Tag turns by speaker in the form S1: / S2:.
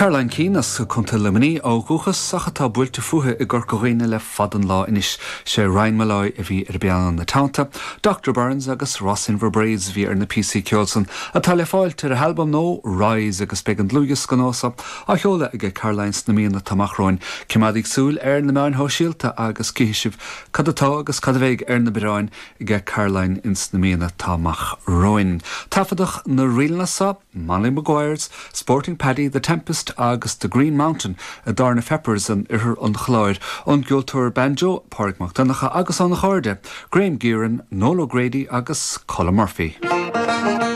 S1: Caroline Keane as Contae Luimnigh ó dhúchas ach atá buailte fúithi i gCorca Dhuibhne le fada an lá anois. Sé Ryan Molloy a bhí ar an bpianó ina teannta, Doctor Burns agus Rossinver Braids a bhí ar na píosaí ceoil san atá le fáilt ar a halbam nua Rise agus beidh an dlúthdhiosca nua seo á sheoladh aige Caroline sna míonna atá amach romhainn. Coimeádaigí súil ar na meáin shóisialta agus cífidh sibh cad atá agus cad a bheidh ar na bioráin aige Caroline ins na míonna atá amach romhainn. Taifeadadh na ríleanna seo, Molly Maguire's, Sporting Paddy, The Tempest agus The Green Mountain i dTábhairne Pheppers in oirthear an Chláir, ón gceoltóir banjo Pádraig Mac Donncha agus óna chairde, Graham Gearan, Noel O'Grady agus Colm Murphy.